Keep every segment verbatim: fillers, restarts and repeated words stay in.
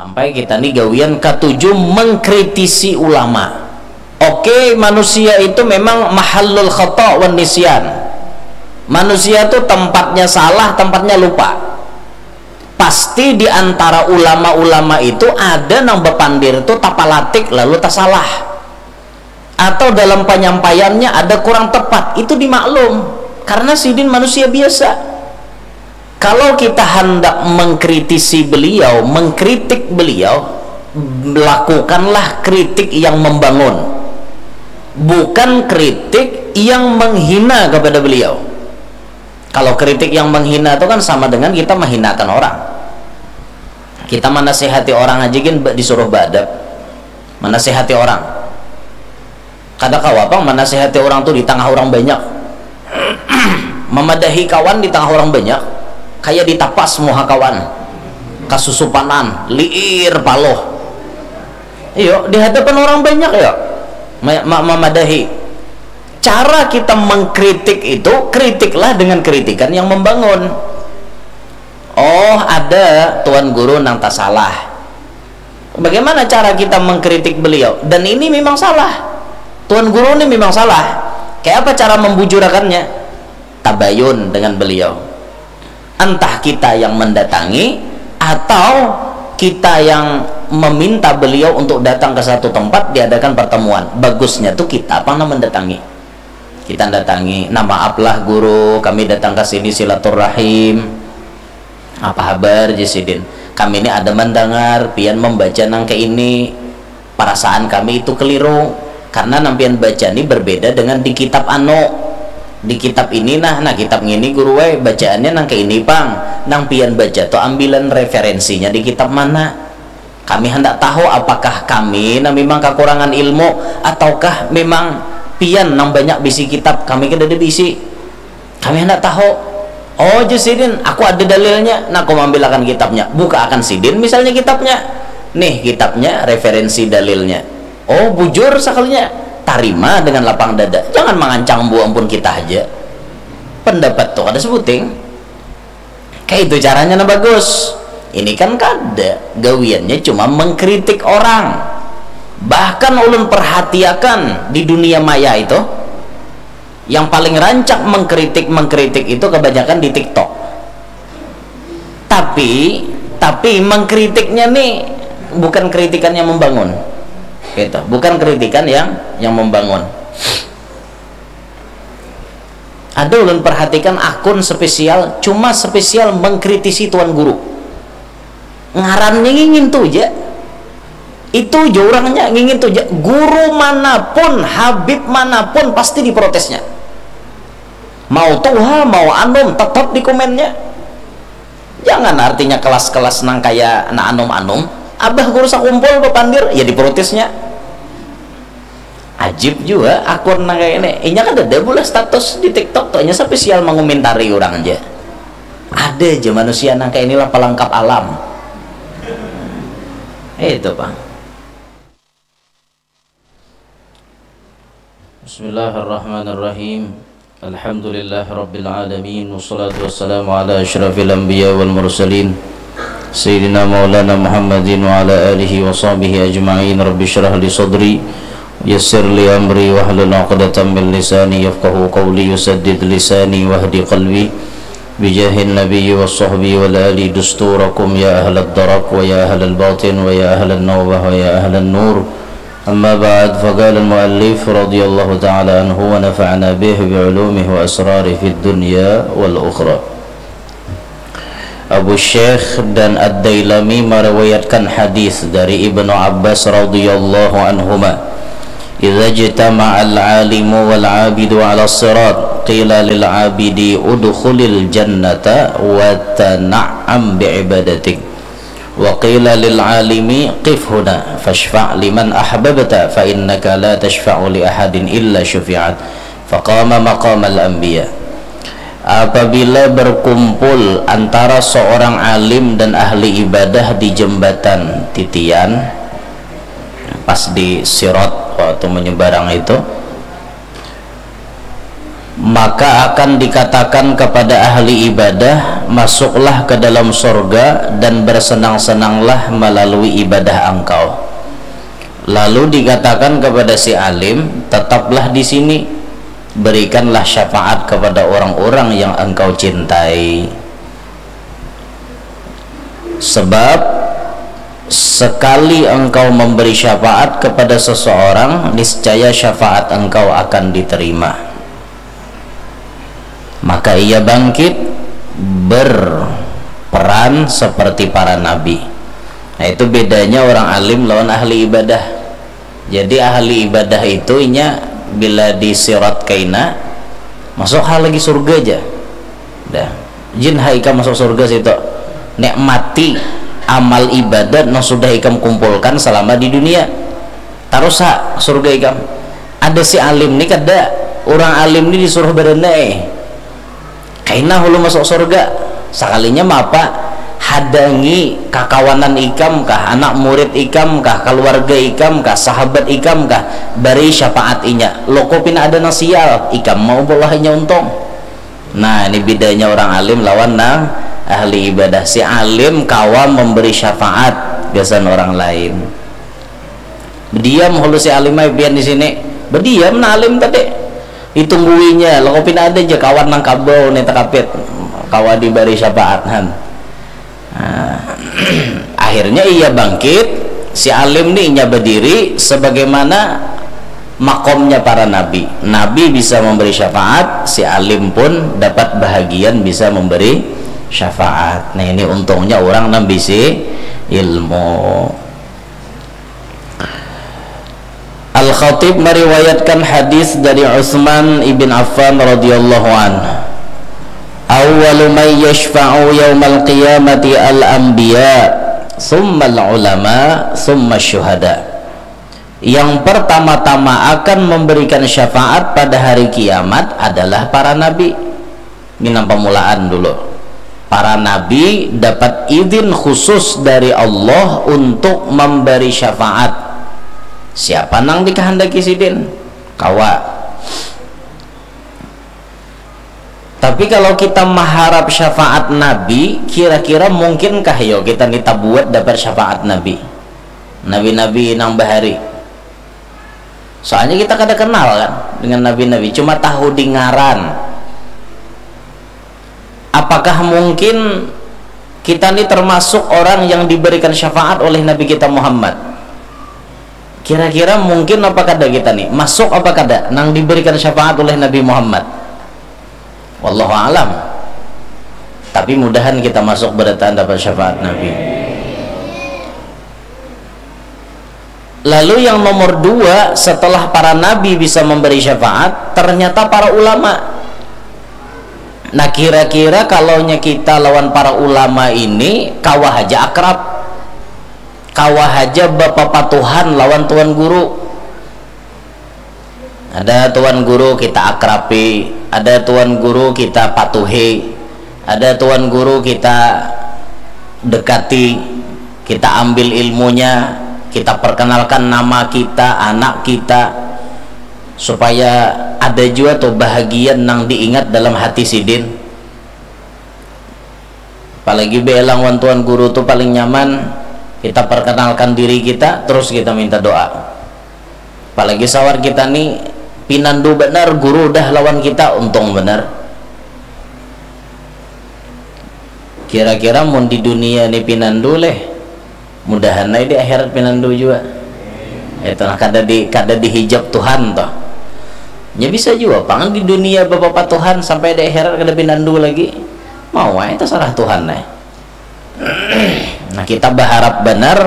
Sampai kita ni gawian katuju mengkritisi ulama. Oke, manusia itu memang mahallul khata wan nisyan. Manusia tu tempatnya salah, tempatnya lupa. Pasti di antara ulama-ulama itu ada nang bapandir tu tapalatik lalu tasalah. Atau dalam penyampaiannya ada kurang tepat, itu dimaklum. Karena sidin manusia biasa. Kalau kita hendak mengkritisi beliau, mengkritik beliau, lakukanlah kritik yang membangun. Bukan kritik yang menghina kepada beliau. Kalau kritik yang menghina itu kan sama dengan kita menghinakan orang. Kita menasihati orang aja gin ba-, disuruh beadab. Menasihati orang. Kada kawa pang menasihati orang tu di tengah orang banyak. Memadahi kawan di tengah orang banyak, kayak ditapas muha kawan. Kasusupanan, liir paloh. Iyo, di hadapan orang banyak ya. Ma-, ma-, memadahi. Cara kita mengkritik itu, kritiklah dengan kritikan yang membangun. Oh, ada tuan guru nang tasalah. Bagaimana cara kita mengkritik beliau? Dan ini memang salah. Tuan guru ini memang salah. Kayak apa cara membujurakannya? Tabayun dengan beliau. Entah kita yang mendatangi atau kita yang meminta beliau untuk datang ke satu tempat, diadakan pertemuan. Bagusnya tuh kita apa nang mendatangi. Kita datangi, "Nah, maaf lah guru, kami datang ke sini silaturahim." "Apa habar?" jar sidin. "Kami ini ada mendengar pian membaca nang kayak ini. Perasaan kami itu keliru. Karena nang pian baca ini berbeda dengan di kitab anu. Di kitab ini nah, nah kitab ngini guru, weh, bacaannya nang kayak ini pang. Nang pian baca tuh ambilan referensinya di kitab mana?" Kami hendak tahu apakah kami nang memang kekurangan ilmu ataukah memang pian nang banyak bisi kitab, kami kada ada bisi. Kami hendak tahu. Oh, jar sidin, aku ada dalilnya. Nah, aku mambilakan kitabnya. Buka akan sidin misalnya kitabnya. Nih kitabnya, referensi dalilnya. Oh, bujur sakalinya. Tarima dengan lapang dada. Jangan mangancang bu ampun kita aja. Pendapat tuh kada sebuting. Kayak itu caranya nah bagus. Ini kan kada, gawiannya cuma mengkritik orang. Bahkan ulun perhatiakan di dunia maya itu, yang paling rancak mengkritik-mengkritik itu kebanyakan di TikTok. Tapi, tapi mengkritiknya nih bukan kritikan yang membangun. Gitu, bukan kritikan yang yang membangun. Ada ulun perhatikan akun spesial, cuma spesial mengkritisi tuan guru. Ngarannya ngingin tu ja. Itu ja urangnya ngingin tu ja. Guru manapun, habib manapun pasti diprotesnya. Mau tuha, mau anum, tetap dikomennya. Jangan artinya kelas-kelas nang kaya na anum-anum. Abah guru sakumpul bapandir, ya diprotesnya. Ajib jua akun nang kaya ini. Inya kan ada bulah status di TikTok tuh, inya spesial mengomentari orang aja. Ada aja manusia nang kaya inilah pelengkap alam. Itu, Bang. Bismillahirrahmanirrahim. Alhamdulillahirabbil alamin, wassalatu wassalamu ala asyrafil anbiya wal mursalin, sayyidina maulana Muhammadin wa ala alihi wa sahbihi ajma'in. Rabbi syrah li sadri, yassir li amri, wahlul uqdatan min lisani yafqahu qawli, yusaddid lisani wahdi qalbi, bijahin nabiyyi wa sahbi wal ali dusturakum ya ahlad darak wa ya ahlal batin wa ya ahlan nawbah wa ya ahlan nur. Amma ba'd, faqala al-muallif radhiyallahu ta'ala anhu wa nafa'ana bih bi ulumihi wa asrarihi fid dunya wal ukhra. Abu Syekh dan Ad-Dailami meriwayatkan hadis dari Ibnu Abbas radhiyallahu anhuma, "Idza ijtama'al alimu wal abidu 'ala sirat, qila lil abidi udkhulil jannata wa tana'am bi ibadatik." Wa qila lil alimi qif huna fashfa' liman ahbabta fa innaka la tashfa'u li ahadin illa shufi'at. Faqama maqamal anbiya. Apabila berkumpul antara seorang alim dan ahli ibadah di jembatan titian, pas di sirat waktu menyeberang itu, Maka akan dikatakan kepada ahli ibadah, "Masuklah ke dalam sorga dan bersenang-senanglah melalui ibadah engkau." Lalu dikatakan kepada si alim, "Tetaplah di sini, berikanlah syafaat kepada orang-orang yang engkau cintai." Sebab sekali engkau memberi syafaat kepada seseorang, niscaya syafaat engkau akan diterima. Maka ia bangkit, berperan seperti para nabi. Nah, itu bedanya orang alim lawan ahli ibadah. Jadi ahli ibadah itu inya bila di sirat kaina, masuk ha lagi surga aja. Dah. Jin ha ikam masuk surga situ. Nek mati amal ibadat nang sudah ikam kumpulkan selama di dunia. Tarus ha surga ikam. Ada si alim ni kada, orang alim ni disuruh berenai. Kaina hulu masuk surga. Sakalinya mapa, hadangi kakawanan ikam kah, anak murid ikam kah, keluarga ikam kah, sahabat ikam kah, bari syafaat inya. Loko pina ada nang sial, ikam mau bolahnya untung. Nah, ini bedanya orang alim lawan nang ahli ibadah. Si alim kawa memberi syafaat gasan orang lain. Bediam hulu si alim ai pian di sini. Bediam nah alim tadi. Ditungguinya, loko pina ada aja kawan nang kabau nih tekapit. Kawa diberi syafaat han. Nah, akhirnya ia bangkit, si alim ni inya berdiri sebagaimana makomnya para nabi. Nabi bisa memberi syafaat, si alim pun dapat bahagian bisa memberi syafaat. Nah, ini untungnya orang nang bisi ilmu. Al-Khatib meriwayatkan hadis dari Utsman ibn Affan radhiyallahu anhu, "Awwalu man yashfa'u yaumal qiyamati al-anbiya, tsummal ulama, tsummash syuhada." Yang pertama-tama akan memberikan syafaat pada hari kiamat adalah para nabi. Minang pamulaan dulu. Para nabi dapat izin khusus dari Allah untuk memberi syafaat. Siapa nang dikehendaki sidin? Kawa. Tapi kalau kita maharap syafaat nabi, kira-kira mungkinkah yo kita ni tabuat dapat syafaat nabi? Nabi-nabi nang bahari. Soalnya kita kada kenal kan dengan nabi-nabi, cuma tahu di ngaran. Apakah mungkin kita ni termasuk orang yang diberikan syafaat oleh Nabi kita Muhammad? Kira-kira mungkin apa kada kita ni? Masuk apa kada nang diberikan syafaat oleh Nabi Muhammad? Wallahu alam. Tapi mudahan kita masuk berataan dapat syafaat Nabi. Lalu yang nomor dua, setelah para nabi bisa memberi syafaat, ternyata para ulama. Nah, kira-kira kalaunya kita lawan para ulama ini kawa haja akrab, kawa haja bapapatuhan lawan tuan guru. Ada tuan guru kita akrabi, ada tuan guru kita patuhi, ada tuan guru kita dekati, kita ambil ilmunya, kita perkenalkan nama kita, anak kita, supaya ada jua tuh bahagian nang diingat dalam hati sidin. Apalagi beelang wan tuan guru tu paling nyaman, kita perkenalkan diri kita, terus kita minta doa. Apalagi sawar kita ni pinandu banar, guru dah lawan kita, untung banar. Kira-kira mun di dunia ni pinandu leh, mudahan ai di akhirat pinandu jua. Itu nah, kada di, kada dihijab Tuhan toh. Nya bisa jua pang di dunia bapapatuhan sampai di akhirat kada pinandu lagi. Mau ai, terserah Tuhan ai. Nah, kita baharap banar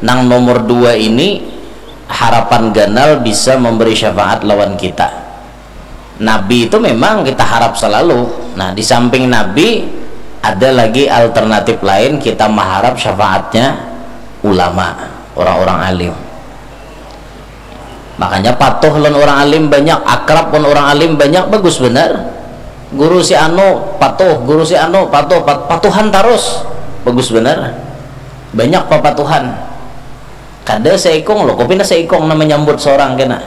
nang nomor dua ini, harapan ganal bisa memberi syafaat lawan kita. Nabi itu memang kita harap selalu. Nah, di samping Nabi, ada lagi alternatif lain kita mengharap syafaatnya ulama, orang-orang alim. Makanya patuh lawan orang alim banyak, akrab lawan orang alim banyak, bagus benar. Guru si anu patuh, guru si anu patuh, pat- patuhan tarus, bagus benar. Banyak papatuhan. Kada seikung lo, kopi na seikung nama nyambut seorang kena.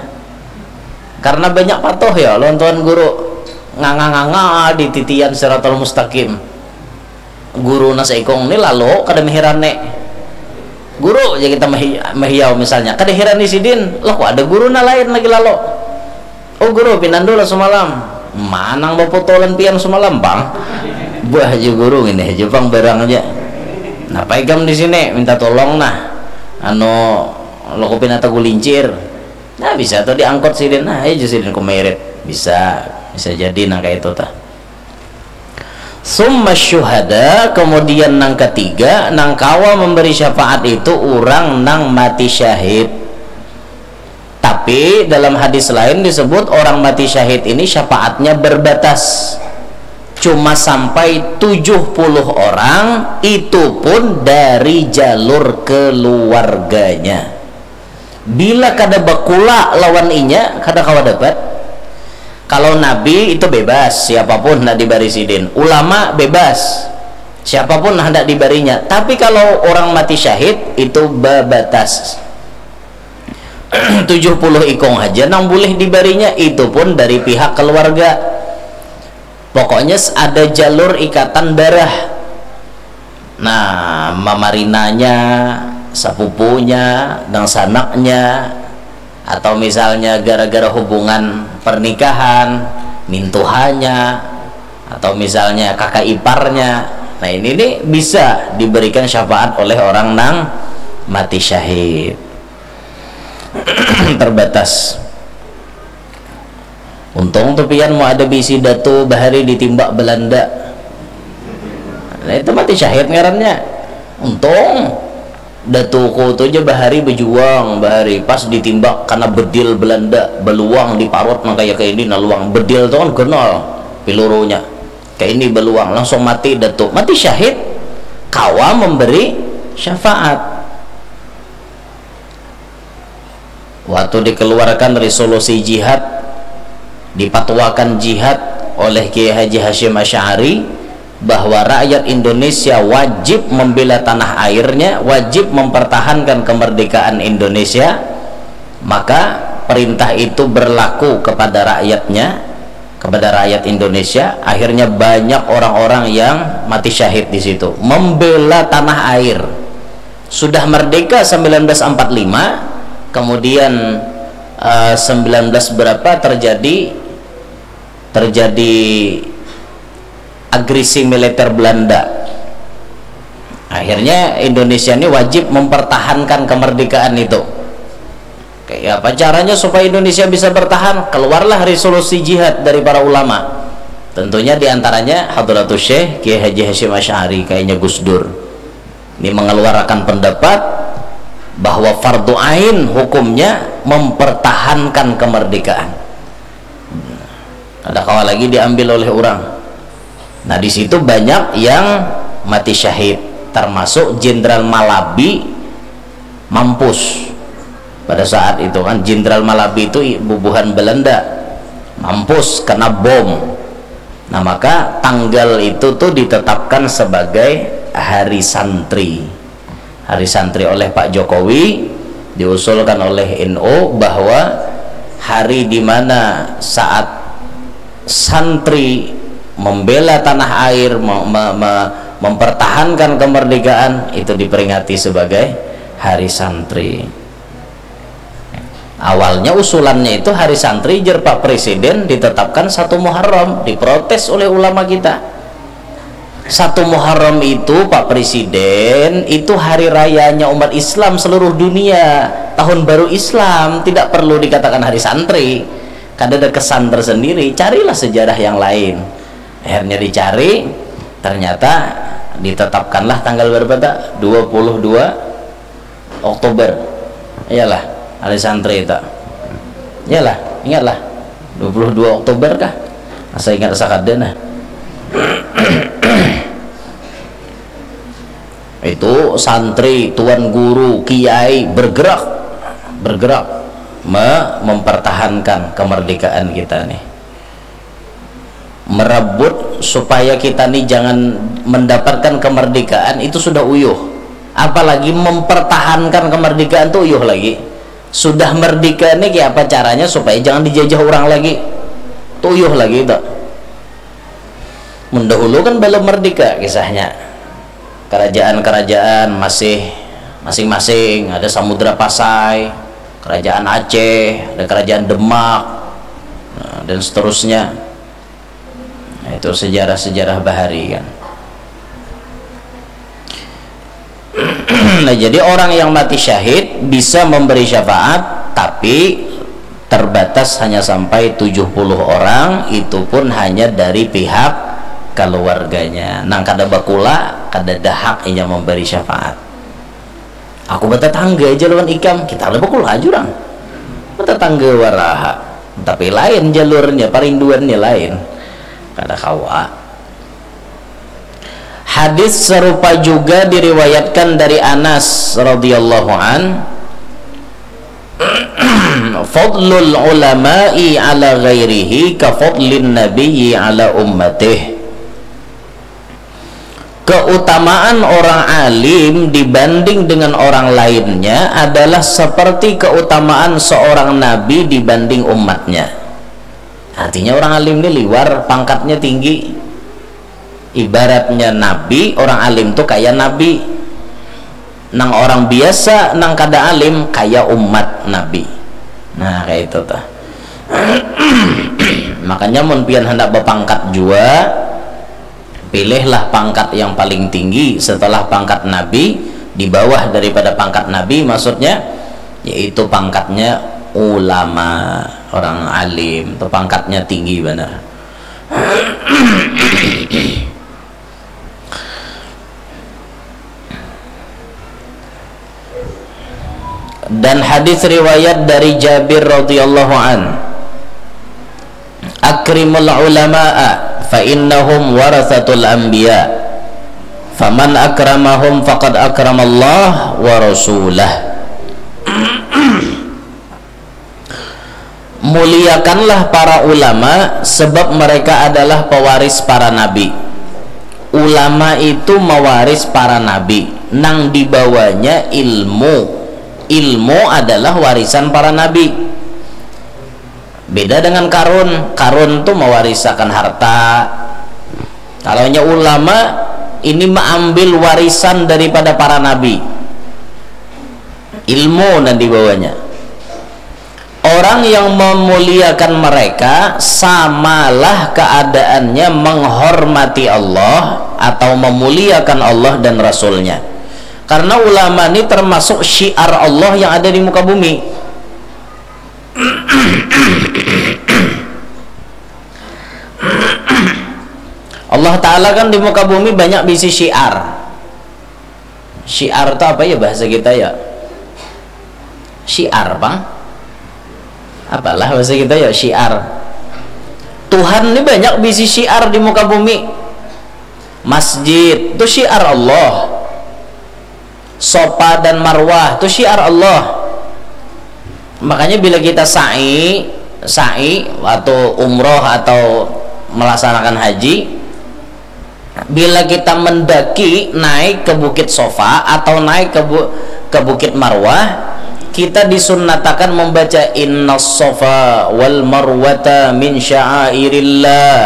Karena banyak patuh ya lawan tuan guru. nganga-nganga di titian siratal mustaqim. Guru nasa ikung ni lalu kada mehirani. Guru aja kita mehi- mehiyau misalnya, kada hirani sidin, lah kok ada guru na lain lagi lalu. Oh guru, pinandu lah semalam. Manang baputulan pian semalam, Bang? Buah aja guru ini aja, Bang, barang aja. Napa ikam di sini? Minta tolong nah. Anu, lo kopi nata gulincir. Nah, bisa tuh diangkut sidin. Nah, aja sidin ku merit. Bisa, bisa jadi nang kayak itu tah. Summa syuhada, kemudian nang ketiga, nang kawa memberi syafaat itu orang nang mati syahid. Tapi dalam hadis lain disebut orang mati syahid ini syafaatnya berbatas. Cuma sampai tujuh puluh orang, itu pun dari jalur keluarganya. Bila kada bakula lawan inya, kada kawa dapat. Kalau nabi itu bebas, siapapun hendak dibari sidin. Ulama bebas, siapapun hendak dibarinya. Tapi kalau orang mati syahid, itu babatas. Tujuh puluh ikung aja nang boleh dibarinya, itu pun dari pihak keluarga. Pokoknya ada jalur ikatan darah. Nah, mamarinanya, sapupunya, dangsanaknya, atau misalnya gara-gara hubungan pernikahan, mintuhanya, atau misalnya kakak iparnya. Nah, ini nih bisa diberikan syafaat oleh orang nang mati syahid. Terbatas. Untung tuh pian mau ada bisi datu bahari ditimbak Belanda. Nah, itu mati syahid ngarannya. Untung datuku tuh aja bahari berjuang, bahari pas ditimbak karena bedil Belanda, beluang di parut nang kayak ini, nah luang bedil tuh kan kenal pilurunya. Kayak ini beluang, langsung mati datu, mati syahid, kawa memberi syafaat. Waktu dikeluarkan resolusi jihad, dipatuakan jihad oleh Kiai Haji Hashim Asy'ari bahwa rakyat Indonesia wajib membela tanah airnya, wajib mempertahankan kemerdekaan Indonesia, maka perintah itu berlaku kepada rakyatnya, kepada rakyat Indonesia. Akhirnya banyak orang-orang yang mati syahid di situ membela tanah air. Sudah merdeka sembilan belas empat lima, kemudian eh, sembilan belas berapa terjadi terjadi agresi militer Belanda. Akhirnya Indonesia ini wajib mempertahankan kemerdekaan itu. Kayak apa caranya supaya Indonesia bisa bertahan? Keluarlah resolusi jihad dari para ulama. Tentunya diantaranya Hadratus Syekh Kiai Haji Hashim Asy'ari, kayaknya Gus Dur. Ini mengeluarkan pendapat bahwa fardu ain hukumnya mempertahankan kemerdekaan. Ada kawa lagi diambil oleh orang. Nah, di situ banyak yang mati syahid, termasuk Jenderal Malabi mampus. Pada saat itu kan Jenderal Malabi itu i- bubuhan Belanda, mampus kena bom. Nah, maka tanggal itu tuh ditetapkan sebagai hari santri. Hari santri oleh Pak Jokowi, diusulkan oleh N U bahwa hari di mana saat santri membela tanah air, me- me- me- mempertahankan kemerdekaan, itu diperingati sebagai hari santri. Awalnya usulannya itu hari santri, jer Pak Presiden, ditetapkan satu Muharram, diprotes oleh ulama kita. Satu Muharram itu, Pak Presiden, itu hari rayanya umat Islam seluruh dunia. Tahun baru Islam, tidak perlu dikatakan hari santri. Kada ada kesan tersendiri. Carilah sejarah yang lain. Akhirnya dicari, ternyata ditetapkanlah tanggal berapa tak? Dua puluh dua Oktober. Iyalah, hari santri itu. Iyalah, ingatlah. Dua puluh dua Oktober kah? Asa ingat asa kada nah. Itu santri, tuan guru, kiai bergerak, bergerak me- mempertahankan kemerdekaan kita nih. Merebut supaya kita nih jangan mendapatkan kemerdekaan itu sudah uyuh. Apalagi mempertahankan kemerdekaan tuh uyuh lagi. Sudah merdeka nih, kayak apa caranya supaya jangan dijajah orang lagi? Tuh uyuh lagi itu. Mun dahulu kan balum merdeka kisahnya. Kerajaan-kerajaan masih masing-masing, ada Samudra Pasai, Kerajaan Aceh, ada Kerajaan Demak, nah, dan seterusnya. Nah, itu sejarah-sejarah bahari kan. Nah, jadi orang yang mati syahid bisa memberi syafaat, tapi terbatas hanya sampai tujuh puluh orang, itu pun hanya dari pihak keluarganya. Nang kada bakula, kada ada hak inya memberi syafaat. Aku batatangga aja lawan ikam, kita kada bakula aja orang. Batatangga waraha, tapi lain jalurnya, parinduannya lain. Kada kawa. Hadis serupa juga diriwayatkan dari Anas radhiyallahu an, "Fadlul ulama'i ala ghairihi ka fadlin nabiyyi ala ummatih." Keutamaan orang alim dibanding dengan orang lainnya adalah seperti keutamaan seorang nabi dibanding umatnya. Artinya orang alim ini liwar, pangkatnya tinggi. Ibaratnya nabi, orang alim tuh kayak nabi. Nang orang biasa, nang kada alim, kayak umat nabi. Nah, kayak itu tuh. Makanya mun pian hendak bapangkat jua, pilihlah pangkat yang paling tinggi setelah pangkat nabi, di bawah daripada pangkat nabi maksudnya, yaitu pangkatnya ulama, orang alim, itu pangkatnya tinggi benar. Dan hadis riwayat dari Jabir radhiyallahu an, "Akrimul ulama'a fa innahum warathatul anbiya, faman akramahum faqad akramallah wa rasulah." Muliakanlah para ulama, sebab mereka adalah pewaris para nabi. Ulama itu mewaris para nabi. Nang dibawanya ilmu. Ilmu adalah warisan para nabi. Beda dengan Karun. Karun tu mewarisakan harta. Kalau nya ulama, ini mengambil warisan daripada para nabi. Ilmu nang dibawanya. Orang yang memuliakan mereka, samalah keadaannya menghormati Allah atau memuliakan Allah dan Rasul-Nya. Karena ulama ni termasuk syiar Allah yang ada di muka bumi. Allah Ta'ala kan di muka bumi banyak bisi syiar. Syiar tu apa ya bahasa kita ya? Syiar, pang? Apalah bahasa kita ya, syiar. Tuhan ni banyak bisi syiar di muka bumi. Masjid tu syiar Allah. Safa dan Marwah tu syiar Allah. Makanya bila kita sa'i, sa'i atau umroh atau melaksanakan haji, bila kita mendaki, naik ke Bukit Safa atau naik ke bu-, ke Bukit Marwah, kita disunnatakan membaca, "Innas Safa wal Marwata min sya'airillah.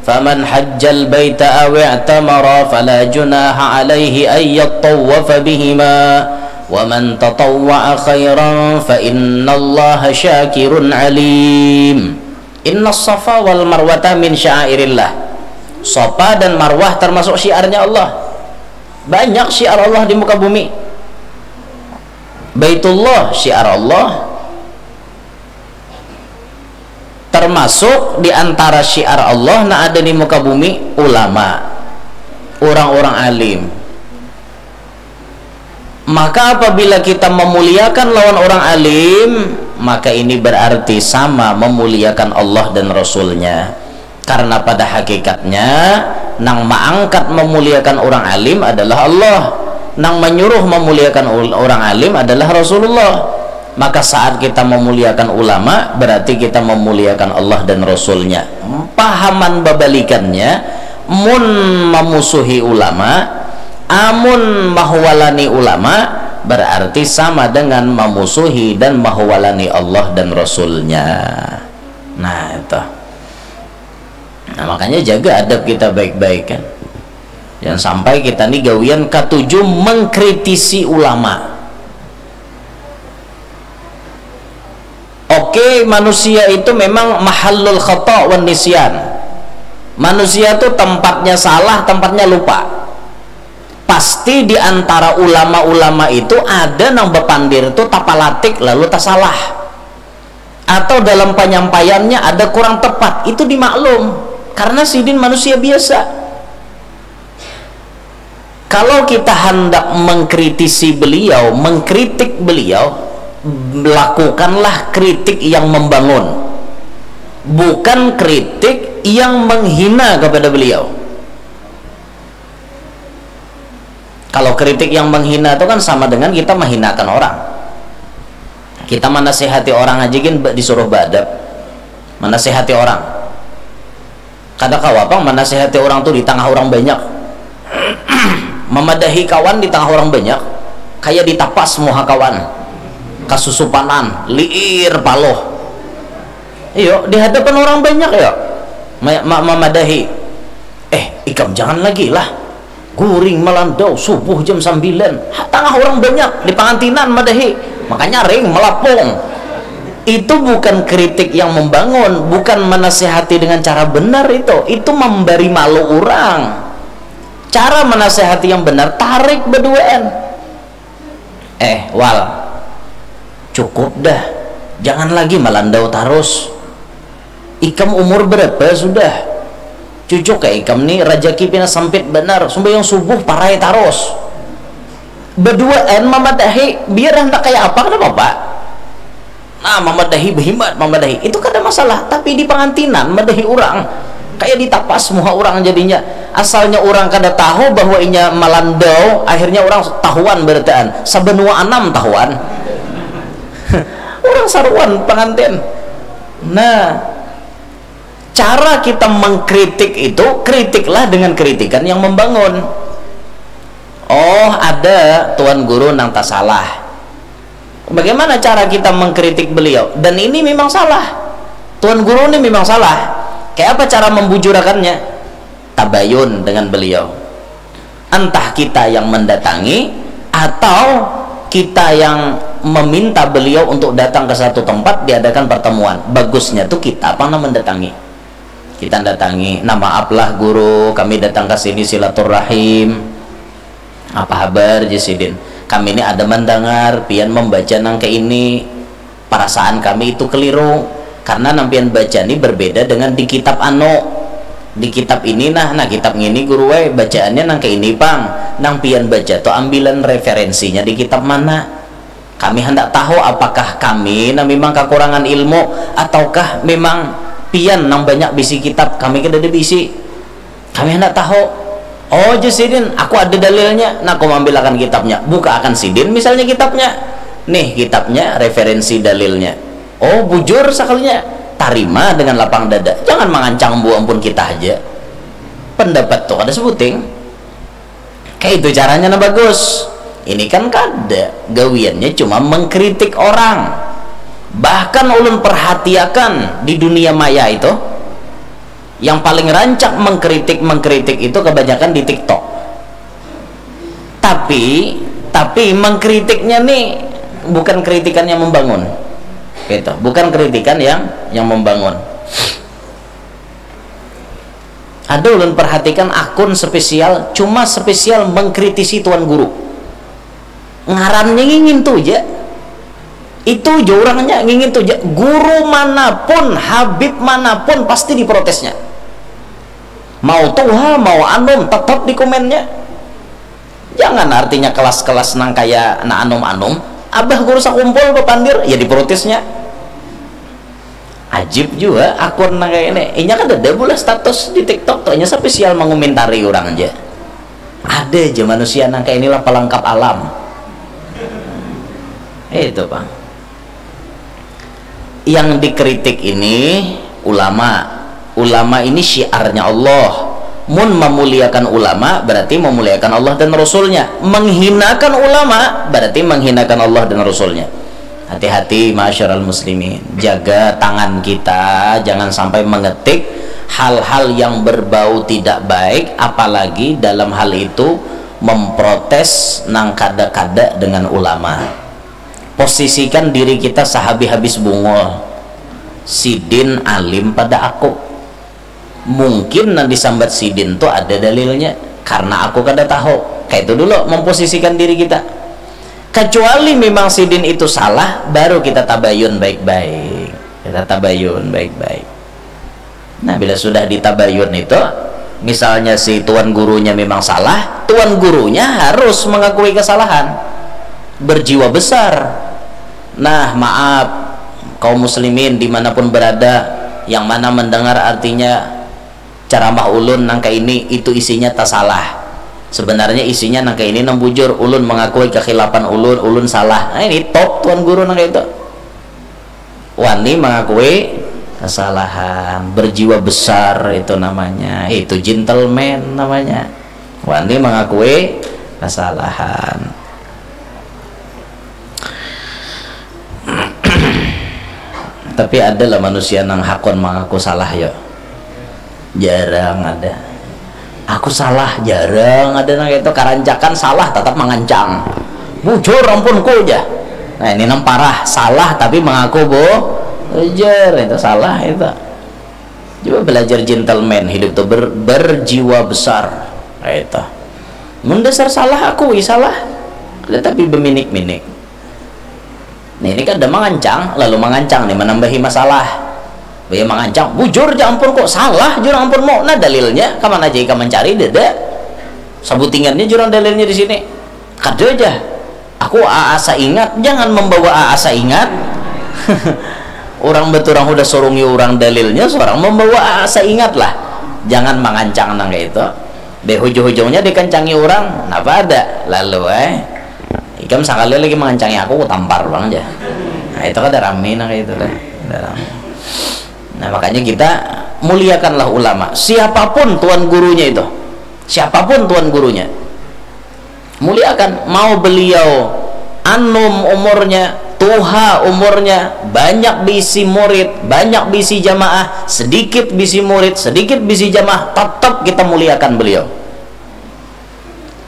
Faman hajjal baita aw i'tamara fala junaha alaihi ay yattawafa bihima. Wa man tatawwa'a khairan fa innallaha syakirun alim." Innas Safa wal Marwata min sya'airillah. Safa dan Marwah termasuk syiarnya Allah. Banyak syiar Allah di muka bumi. Baitullah syiar Allah. Termasuk di antara syiar Allah nang ada di muka bumi, ulama, orang-orang alim. Maka apabila kita memuliakan lawan orang alim, maka ini berarti sama memuliakan Allah dan Rasul-Nya. Karena pada hakikatnya, nang maangkat memuliakan orang alim adalah Allah. Nang menyuruh memuliakan ul-, orang alim adalah Rasulullah. Maka saat kita memuliakan ulama, berarti kita memuliakan Allah dan Rasul-Nya. Pahaman babalikannya, mun memusuhi ulama, amun mahuwalani ulama, berarti sama dengan memusuhi dan mahuwalani Allah dan Rasul-Nya. Nah, itu. Nah, makanya jaga adab kita baik-baik, kan. Jangan sampai kita ni gawian katuju mengkritisi ulama. Oke, manusia itu memang mahallul khata wan nisyan. Manusia tuh tempatnya salah, tempatnya lupa. Pasti di antara ulama-ulama itu ada nang bapandir tuh tapalatik lalu tasalah. Atau dalam penyampaiannya ada kurang tepat, itu dimaklum. Karena sidin manusia biasa. Kalau kita hendak mengkritisi beliau, mengkritik beliau, lakukanlah kritik yang membangun. Bukan kritik yang menghina kepada beliau. Kalau kritik yang menghina itu kan sama dengan kita menghinakan orang. Kita menasihati orang aja gin ba-, disuruh beadab. Menasihati orang. Kada kawa pang menasihati orang tuh di tengah orang banyak. Memadahi kawan di tengah orang banyak, kayak ditapas muha kawan. Kasusupanan, liir paloh. Iyo, di hadapan orang banyak ya. Ma-, ma-, memadahi. "Eh, ikam jangan lagi lah. Guring malandau subuh jam sambilan. Ha, tangah urang banyak, di pangantinan madahi. Makanya ring malapung." Itu bukan kritik yang membangun, bukan menasihati dengan cara benar itu. Itu memberi malu urang. Cara menasihati yang benar, tarik beduaan. "Eh, Wal, cukup dah. Jangan lagi malandau tarus. Ikam umur berapa sudah? Cucuk ya ikam ni, rajaki pina sempit banar. Sumbayang subuh parai tarus." Beduaan mamadahi, biar handak kaya apa kada apa. Nah, mamadahi, behimat mamadahi. Itu kada masalah, tapi di pangantinan madahi urang. Kaya ditapas muha urang jadinya. Asalnya urang kada tahu bahwa inya malandau, akhirnya urang tahuan barataan. Sabanua anam tahuan. Urang saruan pangantin. Nah, cara kita mengkritik itu, kritiklah dengan kritikan yang membangun. Oh, ada tuan guru nang tasalah. Bagaimana cara kita mengkritik beliau? Dan ini memang salah. Tuan guru ini memang salah. Kayak apa cara membujurakannya? Tabayun dengan beliau. Entah kita yang mendatangi atau kita yang meminta beliau untuk datang ke satu tempat, diadakan pertemuan. Bagusnya tuh kita apa nang mendatangi. Kita datangi, "Nah, maaf lah guru, kami datang ke sini silaturahim. Apa habar?" Jar sidin. "Kami ini ada mendengar pian membaca nang kayak ini. Perasaan kami itu keliru. Karena nang pian baca ni berbeda dengan di kitab anu. Di kitab ini nah, nah kitab ngini guru, weh, bacaannya nang kayak ini pang. Nang pian baca tuh ambilan referensinya di kitab mana? Kami hendak tahu apakah kami nah memang kekurangan ilmu ataukah memang pian nang banyak bisi kitab, kami kada ada bisi. Kami hendak tahu." "Oh," jar sidin, "aku ada dalilnya." Nah, aku mambilakan kitabnya. Buka akan sidin misalnya kitabnya. "Nih kitabnya, referensi dalilnya." Oh, bujur sakalinya. Tarima dengan lapang dada. Jangan mangancang bu ampun kita aja. Pendapat tuh kada sebuting. Kayak itu caranya nah bagus. Ini kan kada, gawiannya cuma mengkritik orang. Bahkan ulun perhatiakan di dunia maya itu, yang paling rancak mengkritik-mengkritik itu kebanyakan di TikTok. Tapi, tapi mengkritiknya nih bukan kritikan yang membangun. Gitu, bukan kritikan yang yang membangun. Ada ulun perhatikan akun spesial, cuma spesial mengkritisi tuan guru. Ngarannya ngingin tu ja. Itu ja urangnya ngingin tu ja. Guru manapun, habib manapun, pasti diprotesnya. Mau tuha, mau anum, tetap di komennya. Jangan artinya kelas-kelas nang kaya na anum-anum. Abah guru sakumpul bapandir, ya diprotesnya. Ajib jua akun nang kaya ini. Inya kadada bulah status di TikTok tu, inya spesial mangumentari urang ja. Ada ja manusia nang kaya inilah pelengkap alam. Itu pang. Yang dikritik ini ulama. Ulama ini syiarnya Allah. Mun memuliakan ulama berarti memuliakan Allah dan Rasulnya. Menghinakan ulama berarti menghinakan Allah dan Rasulnya. Hati-hati, ma'asyiral muslimin. Jaga tangan kita, jangan sampai mengetik hal-hal yang berbau tidak baik, apalagi dalam hal itu memprotes nang kada-kada dengan ulama. Posisikan diri kita sahabis-habis bungul. Sidin alim pada aku. Mungkin nang disambat sidin tu ada dalilnya, karena aku kada tahu. Kaitu dulu memposisikan diri kita. Kecuali memang sidin itu salah, baru kita tabayun baik-baik. Kita tabayun baik-baik. Nah, bila sudah ditabayun itu, misalnya si tuan gurunya memang salah, tuan gurunya harus mengakui kesalahan. Berjiwa besar. Nah, maaf, kaum muslimin dimanapun berada, yang mana mendengar artinya ceramah ulun nang kaini, itu isinya tasalah. Sebenarnya isinya nang kaini nang bujur, ulun mengakui kekhilafan ulun, ulun salah. Nah, ini top tuan guru nang kaitu. Wani mengakui kesalahan, berjiwa besar itu namanya, itu gentleman namanya. Wani mengakui kesalahan. Tapi ada lah manusia nang hakun mengaku salah, ya. Jarang ada. Aku salah, jarang ada nang itu. Karancakan salah, tetap mangancang. Bujur, ampun ku, jar. Nah, ini nang parah, salah tapi mengaku, bu, bujur, itu salah itu. Coba belajar gentleman, hidup tuh ber-, berjiwa besar. Nah, itu. Mun dasar salah, akui salah. Tetapi beminik-minik. Nah, ini kada mangancang, lalu mangancang nih, manambahi masalah. Baya mangancang, bujur ja ampun ku, salah jurang ampun mu. Nah, dalilnya, kamana ja ikam mancari, dada. Sabutingannya jurang dalilnya di sini. Kada ja. Aku aa saingat, jangan membawa aa saingat. Urang baturang hudah surungi urang dalilnya, surang membawa aa saingat lah. Jangan mangancang nang kaitu. Deh, hujung-hujungnya dikancangi urang, napa ada? Lalu, eh. Ikam sakali lagi mangancangi aku, kutampar pulang ja. Nah, itu kada rami nang kaitu lah. Kada rami. Nah, makanya kita muliakanlah ulama. Siapapun tuan gurunya itu. Siapapun tuan gurunya. Muliakan. Mau beliau anum umurnya, tuha umurnya, banyak bisi murid, banyak bisi jamaah, sedikit bisi murid, sedikit bisi jamaah, tetap kita muliakan beliau.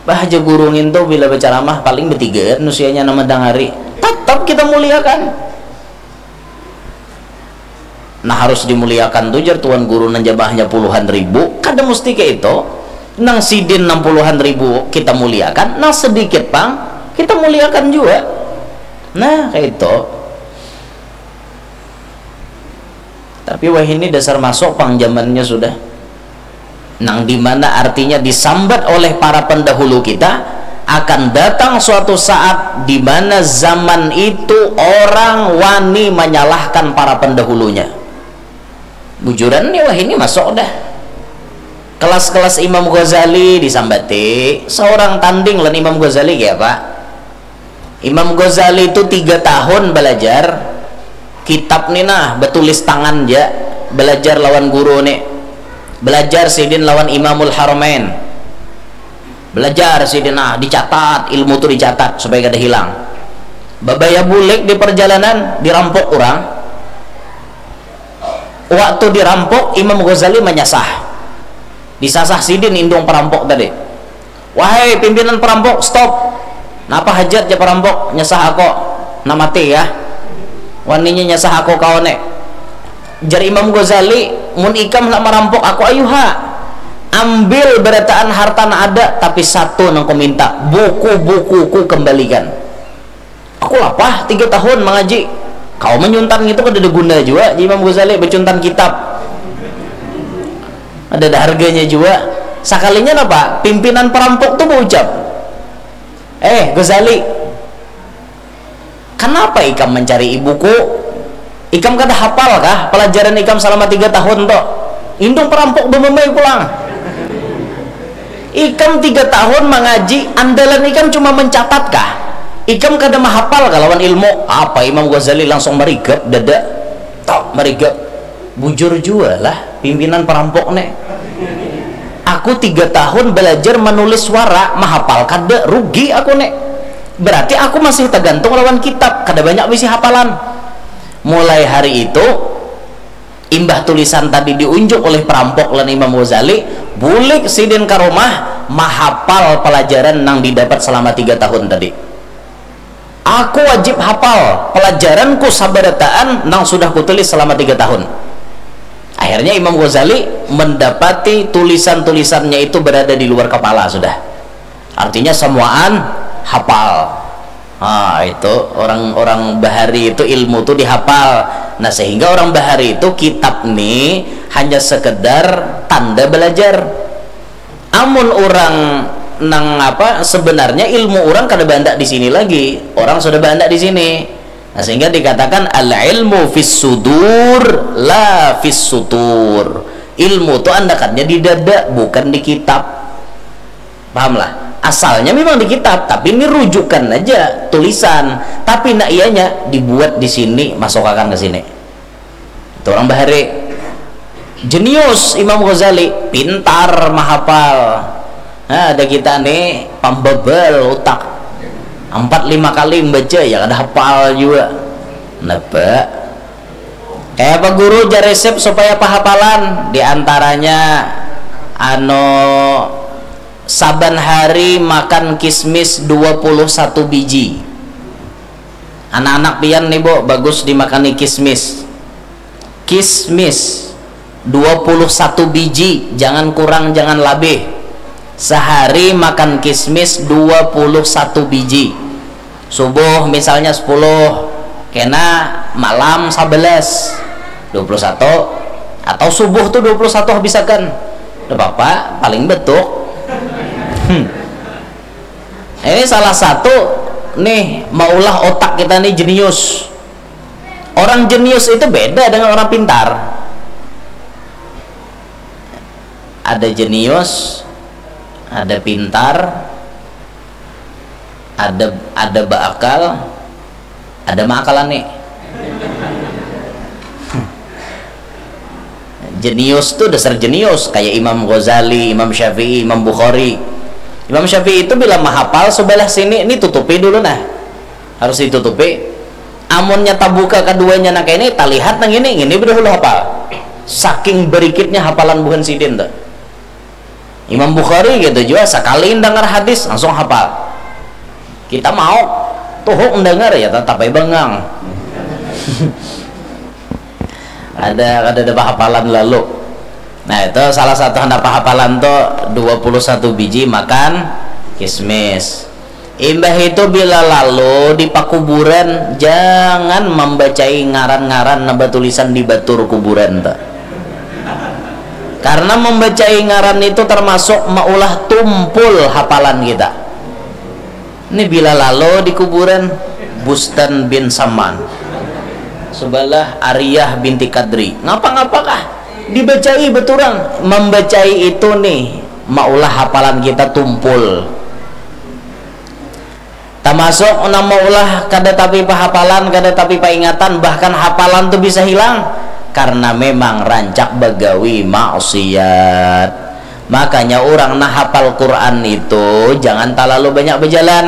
Bah, jar guru ngintu bila bacaramah paling batigaan usianya nang mandangari. Tatap kita muliakan. Nah, harus dimuliakan tu, jar tuan guru, nang jamaahnya puluhan ribu, kada musti kaitu. Nang sidin nang puluhan ribu kita muliakan, nang sedikit pang kita muliakan jua. Nah, kaitu. Tapi wahini dasar masuk pang zamannya sudah. Nang dimana artinya disambat oleh para pendahulu kita, akan datang suatu saat di mana zaman itu orang wani menyalahkan para pendahulunya. Bujuran nih, wahini masuk dah. Kelas-kelas Imam Ghazali disambati, seorang tanding lan Imam Ghazali kaya apa? Imam Ghazali tu tiga tahun balajar kitab ni nah, batulis tangan ja, balajar lawan guru ni. Balajar sidin lawan Imamul Haramain. Balajar sidin nah, dicatat, ilmu tu dicatat supaya kada hilang. Babaya bulik di parjalanan, dirampuk urang. Waktu dirampuk, Imam Ghazali manyasah. Disasah sidin indung parampuk tadi. "Wahai pimpinan parampuk, stop! Napa hajat ja parampuk nyasah aku? Nah mati kah? Waninya nyasah aku kawan ne." Jar Imam Ghazali, "Mun ikam handak marampuk aku, ayu ha. Ambil barataan harta nang ada, tapi satu nang kuminta, buku-bukuku kembalikan." "Aku lapah tiga tahun mangaji." Kawa manyuntan ngitu kadada guna jua, jar Imam Ghazali, bacuntan kitab. Kadada harganya jua. Sakalinya napa? Pimpinan parampuk tu baucap, "Eh, Ghazali, kanapa ikam mancari buku? Ikam kada hapal kah palajaran ikam salama tiga tahun tu? Indung parampuk bamamai pulang." Ikam tiga tahun mangaji, andalan ikam cuma mencatat kah? Ikam kada mahapal kah lawan ilmu? Apa Imam Ghazali langsung marigap dada. Tok, marigap. Bujur jua lah pimpinan parampuk ne. Aku tiga tahun balajar manulis wara, mahapal kada, rugi aku ne. Berarti aku masih tagantung lawan kitab, kada banyak bisi hapalan. Mulai hari itu, Imbah tulisan tadi diunjuk oleh perampok lan Imam Ghazali, bulik sidin ka rumah, mahapal pelajaran nang didapat selama tiga tahun tadi. Aku wajib hapal pelajaranku sabarataan nang sudah kutulis selama tiga tahun. Akhirnya Imam Ghazali mendapati tulisan-tulisannya itu berada di luar kepala sudah. Artinya semuaan hapal. Ah, itu orang-orang bahari itu ilmu tu dihapal. Nah, sehingga orang bahari itu kitab ni hanya sekedar tanda belajar. Amun orang nang apa, sebenarnya ilmu orang kada banyak di sini lagi. Orang sudah banyak di sini. Nah, sehingga dikatakan al ilmu fis sudur la fis sutur. Ilmu tu andakannya di dada, bukan di kitab. Pahamlah? Asalnya memang di kitab, tapi ini rujukan aja, tulisan. Tapi nak ianya dibuat di sini, masukakan ke sini. Itu orang bahari. Jenius Imam Ghazali, pintar mahapal. Nah, ada kita nih pambabal utak. Empat lima kali membaca ya kada hapal juga. Napa? Kayak apa guru jar resep supaya pahapalan? Di antaranya anu saban hari makan kismis dua puluh satu biji. Anak-anak pian nih, Bu, bagus dimakani kismis. Kismis dua puluh satu biji, jangan kurang, jangan labih. Sehari makan kismis dua puluh satu biji. Subuh misalnya sepuluh, kena malam sebelas, dua puluh satu. Atau subuh tuh dua puluh satu habisakan. Udah apa-apa, paling betuk. Hmm. Ini salah satu nih maulah otak kita nih jenius. Orang jenius itu beda dengan orang pintar. Ada jenius, ada pintar, ada ada beakal, ada maakalan nih. Jenius tuh dasar jenius, kayak Imam Ghazali, Imam Syafi'i, Imam Bukhari. Imam Syafi'i itu bila mahapal sebelah sini, ini tutupi dulu nah. Harus ditutupi. Amunnya tabuka keduanya nak ini, talihat nang ini, ini bedahulu hapal. Saking berikitnya hapalan buhan sidin tuh. Imam Bukhari gitu juga, sekali dengar hadis langsung hapal. Kita mau tuh mendengar ya, tetap aja bengang. Ada ada ada hafalan lalu. Nah, itu salah satu handa pahapalan tuh dua puluh satu biji makan kismis. Imbah itu bila lalu di pakuburan, jangan membacai ngaran-ngaran nang batulisan di batur kuburan tuh. Karena membacai ngaran itu termasuk maulah tumpul hafalan kita. Ini bila lalu di kuburan Bustan bin Saman, sebelah Ariyah binti Kadri. Ngapa-ngapakah? Dibacai beturang. Membacai itu nih maulah hafalan kita tumpul. Tamasuk nang maulah kada tapi pahapalan, kada tapi paingatan, bahkan hapalan tu bisa hilang karena memang rancak bagawi maksiat. Makanya urang nang hapal Quran itu jangan talalu banyak bajalan.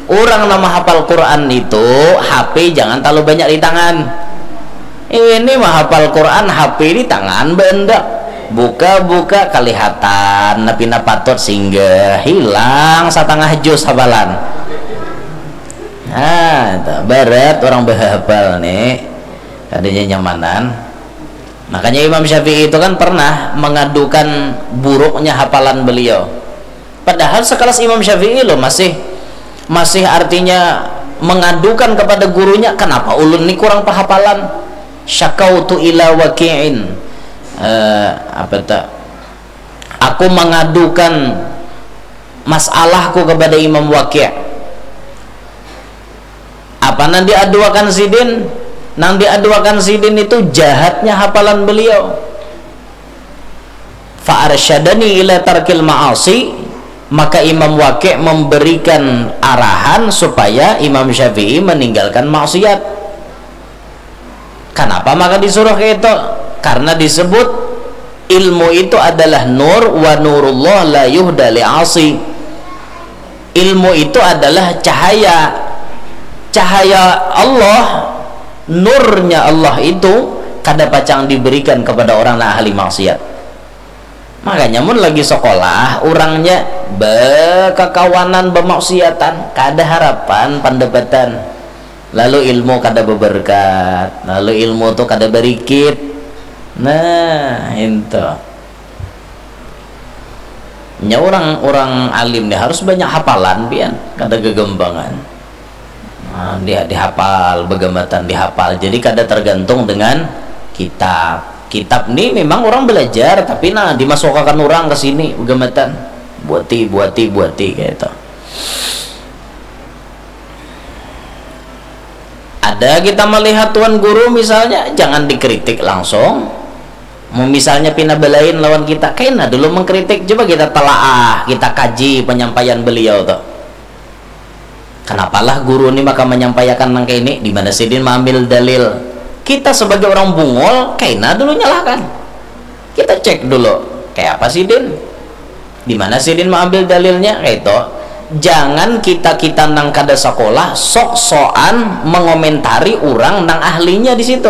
Urang nang mahapal Quran itu H P jangan talalu banyak di tangan. Ini mahapal Quran, H P di tangan baandak. Buka-buka kalihatan, nah pina patut singgah, hilang satangah jus hafalan. Nah, itu berat orang bahapal nih. Adanya nyamanan. Makanya Imam Syafi'i itu kan pernah mengadukan buruknya hafalan beliau. Padahal sekelas Imam Syafi'i loh masih masih artinya mengadukan kepada gurunya, kenapa ulun ni kurang pahapalan? Syakautu ila waki'in. Eh, apa tak? Aku mengadukan masalahku kepada Imam Waki'. Apa nang diaduakan sidin? Nang diaduakan sidin itu jahatnya hafalan beliau. Fa arsyadani ila tarkil ma'asi, maka Imam Waki' memberikan arahan supaya Imam Syafi'i meninggalkan maksiat. Kenapa maka disuruh kayak itu? Karena disebut ilmu itu adalah nur, wa nurullah la yuhda li asi. Ilmu itu adalah cahaya. Cahaya Allah, nurnya Allah itu kada pacang diberikan kepada orang nang ahli maksiat. Makanya mun lagi sekolah, urangnya bekakawanan bemaksiatan, kada harapan pandapatan. Lalu ilmu kada beberkat, lalu ilmu tu kada berikit. Nah, itu. Nya orang, orang alim ni harus banyak hafalan pian, kada gegembangan. Nah, dia dihafal, begamatan dihafal. Jadi kada tergantung dengan kitab. Kitab ni memang orang belajar, tapi nah dimasukakan orang ke sini begamatan. Buati, buati, buati kayak itu. Ada kita melihat tuan guru misalnya, jangan dikritik langsung. Mau misalnya pina belain lawan kita, kaina dulu mengkritik, coba kita telaah, kita kaji penyampaian beliau tuh. Kenapalah guru ni maka menyampaikan nang kayak ini? Di mana sidin mengambil dalil? Kita sebagai orang bungul, kaina dulu nyalahkan. Kita cek dulu, kayak apa sidin? Di mana sidin mengambil dalilnya? Kayak itu. Jangan kita-kita nang kada sekolah sok-sokan mengomentari orang nang ahlinya di situ.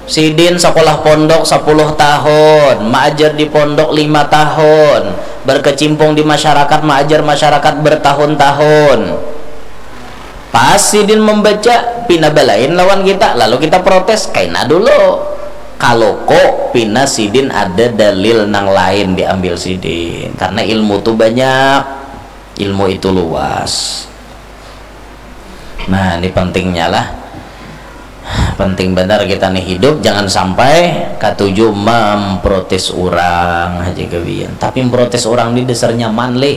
Sidin sekolah pondok sepuluh tahun, maajar di pondok lima tahun, berkecimpung di masyarakat, maajar masyarakat bertahun-tahun. Pas sidin membaca, pina balain lawan kita, lalu kita protes, kaina dulu. Kalau kok pina sidin ada dalil nang lain diambil sidin, karena ilmu tu banyak, ilmu itu luas. Nah, ini pentingnya lah. Penting benar kita nih hidup, jangan sampai katuju memprotes orang aja gawian. Tapi memprotes orang ini dasar nyaman leh.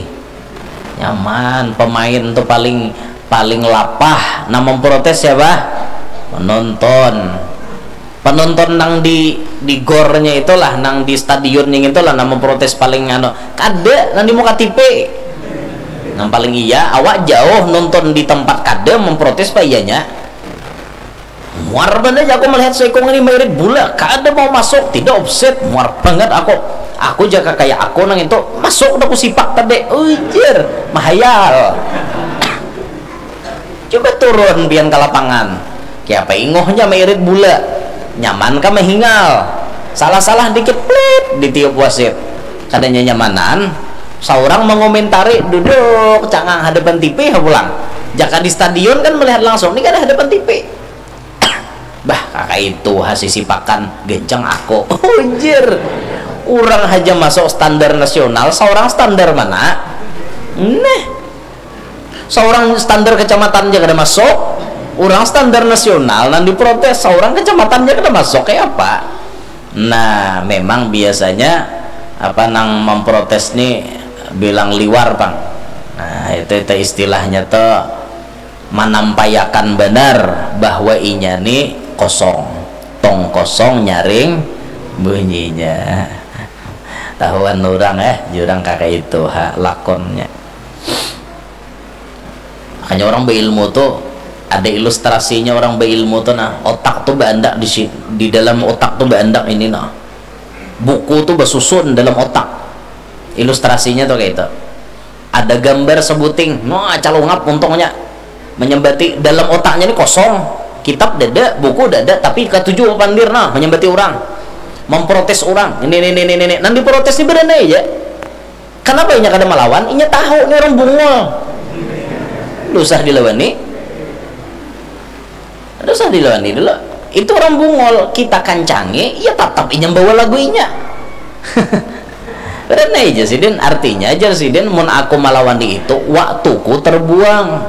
Nyaman, pemain tuh paling paling lapah. Nah, memprotes siapa? Menonton. Penonton nang di di gornya itulah, nang di stadion yang itulah, nang memprotes paling anu. Kada, nang di muka T V. Nang paling iya, awak jauh nonton di tempat kada memprotes pak iyanya. Muar banget aku melihat seikung ini mairit bola, kada mau masuk, tidak offset, muar banget aku. Aku jaga kayak aku nang itu, masuk udah aku sipak tadi, ujar, mahayal. Coba turun pian ke lapangan. Kiapa ingohnya mairit bola? Nyaman kah mahingal? Salah-salah dikit, plit, ditiup wasit. Kada nyamanan, saurang mengomentari duduk cangang hadapan T V pulang. Jaka di stadion kan melihat langsung, ini kada hadapan T V. Bah, kakak itu hasisi pakan genceng aku. Ujar. Orang aja masuk standar nasional, seorang standar mana? Neh. Seorang standar kecamatan aja kada masuk, orang standar nasional nang diprotes, seorang kecamatan aja kada masuk, kayak apa? Nah, memang biasanya apa nang memprotes nih bilang liwar pang. Nah, itu itu istilahnya tuh manampaiakan banar bahwa inya nih kosong, tong kosong nyaring bunyinya. Tahuan orang eh jurang kakak itu ha lakonnya. Makanya orang berilmu tuh ada ilustrasinya, orang berilmu tuh nah, otak tuh beandak di si- di dalam otak tuh beandak ini nah, buku tuh basusun dalam otak. Ilustrasinya tuh kayak itu, ada gambar sebuting, nah, calungap untungnya, menyembati dalam otaknya ini kosong, kitab dada, buku dada, tapi katuju pandir nah menyembati orang, memprotes orang ini ini ini ini, nang diprotes ini berani aja. Kenapa inya kada melawan? Inya tahu ini orang bungul. Susah dilawani. Susah dilawani dulu. Itu orang bungul, kita kancangi, ya tetap inya bawa lagu inya. Karena aja sidin, artinya aja sidin, mun aku melawan di itu, waktuku terbuang.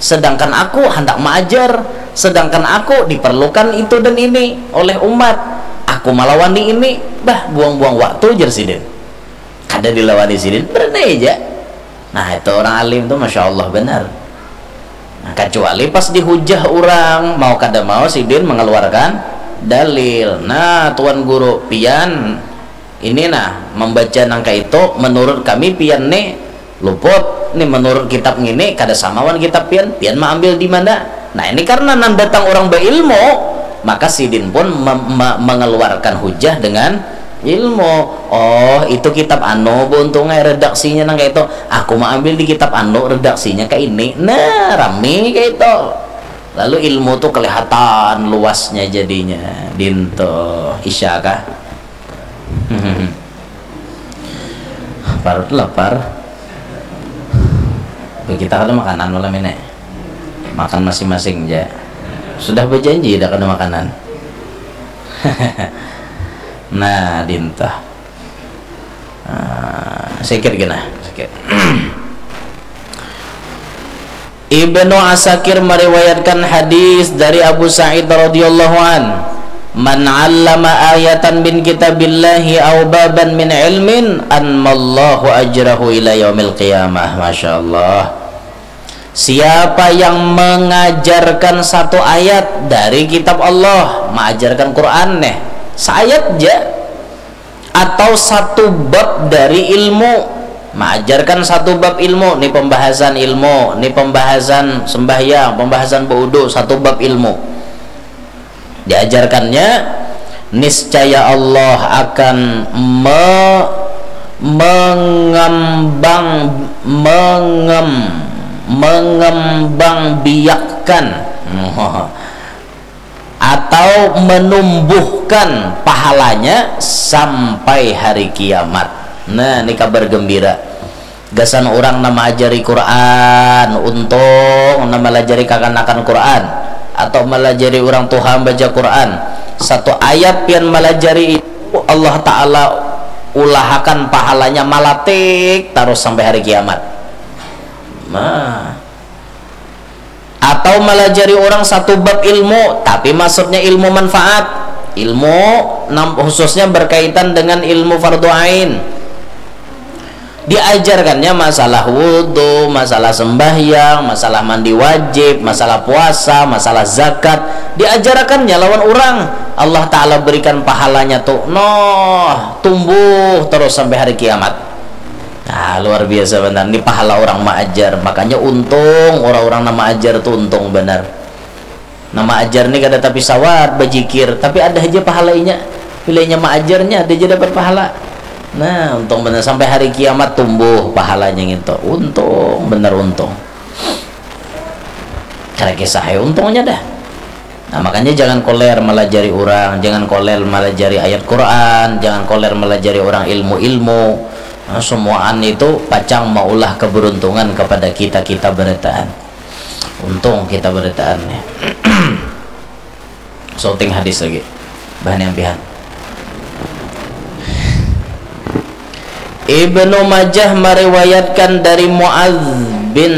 Sedangkan aku hendak mengajar, sedangkan aku diperlukan itu dan ini oleh umat. Aku melawan di ini, bah buang-buang waktu jer sidin. Kada dilawani sidin, berenai aja. Nah, itu orang alim tuh masya Allah benar. Nah, kecuali pas dihujah orang, mau kada mau sidin mengeluarkan dalil. Nah, tuan guru pian ini nah membaca nangka itu, menurut kami pian nih luput nih, menurut kitab ngini kada sama wan kitab pian, pian maambil di mana? Nah, ini karena nang datang orang berilmu, maka sidin pun mem- me- mengeluarkan hujah dengan ilmu. Oh, itu kitab anu buntung ai redaksinya nang kayak itu. Aku mau ambil di kitab anu redaksinya kayak ini. Nah, rami kayak itu. Lalu ilmu tu kelihatan luasnya jadinya. Dinto, Isya kah? Parut lapar. Kita kada makanan malam ini. Makan masing-masing ja. Sudah berjanji dah kada makanan. Nah, dinto. Ah, sikit gina, sikit. Ibnu Asakir meriwayatkan hadis dari Abu Sa'id radhiyallahu an, "Man 'allama ayatan min kitabillahi aw baban min ilmin, anmallahu ajrahu ila yaumil qiyamah." Masya Allah. Siapa yang mengajarkan satu ayat dari kitab Allah, mengajarkan Quran nih, seayat aja, atau satu bab dari ilmu, mengajarkan satu bab ilmu, ni pembahasan ilmu, ni pembahasan sembahyang, pembahasan berwudu, satu bab ilmu diajarkannya, niscaya Allah akan me- mengembang mengem mengembang biakkan atau menumbuhkan pahalanya sampai hari kiamat. Nah, ini kabar gembira. Gasan orang nang maajari Quran, untung, nang malajari kakanakan Quran, atau malajari orang tuha baca Quran. Satu ayat pian malajari itu, Allah Ta'ala ulahakan pahalanya malatik tarus sampai hari kiamat. Nah. Atau malajari orang satu bab ilmu, tapi maksudnya ilmu manfaat, ilmu nam- khususnya berkaitan dengan ilmu fardu ain. Diajarkannya masalah wudhu, masalah sembahyang, masalah mandi wajib, masalah puasa, masalah zakat. Diajarkannya lawan orang. Allah Ta'ala berikan pahalanya tu, noh, tumbuh terus sampai hari kiamat. Nah, luar biasa banar. Ini pahala orang maajar. Makanya untung orang-orang nang maajar tu untung banar. Nang maajar ni kada tapi sawat bajikir, tapi ada haja pahala inya. Bila inya maajarnya, ada aja dapat pahala. Nah, untung banar. Sampai hari kiamat tumbuh pahalanya ngintu. Untung, banar untung. Kada kisah ai untungnya dah. Nah, makanya jangan koler malajari orang, jangan koler malajari ayat Quran, jangan koler malajari orang ilmu-ilmu. Nah, semuaan itu pacang maulah keberuntungan kepada kita, kita berataan. Untung kita berataan nih. Shooting hadis lagi. Bahan yang pihan. Ibnu Majah meriwayatkan dari Muadz bin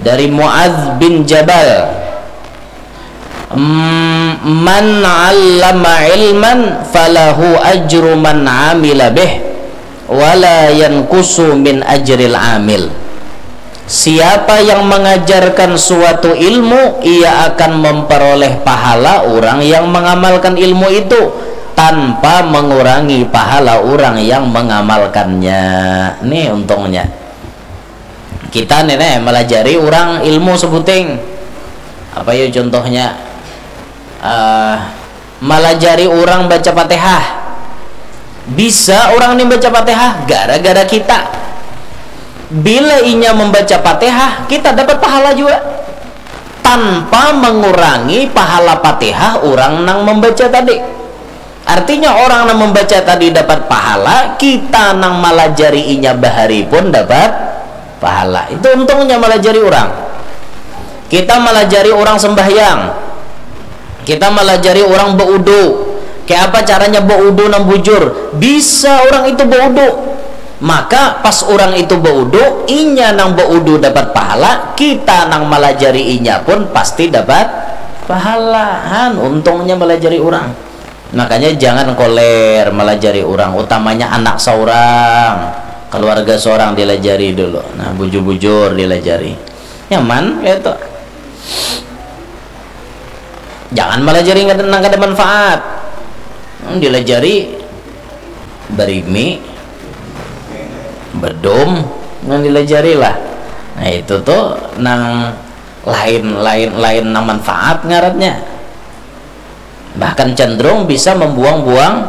dari Muadz bin Jabal, "Man 'allama ilman falahu ajru man 'amila bih, wala yankusu min ajril amil." Siapa yang mengajarkan suatu ilmu, ia akan memperoleh pahala orang yang mengamalkan ilmu itu tanpa mengurangi pahala orang yang mengamalkannya. Nih untungnya. Kita nih, nih, melajari orang ilmu sebuting. Apa ya contohnya? Uh, melajari orang baca Fatihah. Bisa orang ini baca Fatihah gara-gara kita. Bila inya membaca Fatihah, kita dapat pahala juga. Tanpa mengurangi pahala Fatihah orang nang membaca tadi. Artinya orang nang membaca tadi dapat pahala, kita nang malajari inya bahari pun dapat pahala. Itu untungnya malajari orang. Kita malajari orang sembahyang. Kita malajari orang baudu. Kayak apa caranya baudu nang bujur? Bisa orang itu baudu. Maka pas orang itu baudu, inya nang baudu dapat pahala, kita nang malajari inya pun pasti dapat pahala. Han, untungnya malajari orang. Makanya jangan koler malajari orang, utamanya anak seorang, keluarga seorang dilajari dulu. Nah, bujur-bujur dilajari. Nyaman kayak itu. Jangan malajari nang kada manfaat. Hmm, dilajari barimi, bedum, nang dilajari lah. Nah, itu tuh nang lain, lain, lain nang manfaat ngarannya. Bahkan cenderung bisa membuang-buang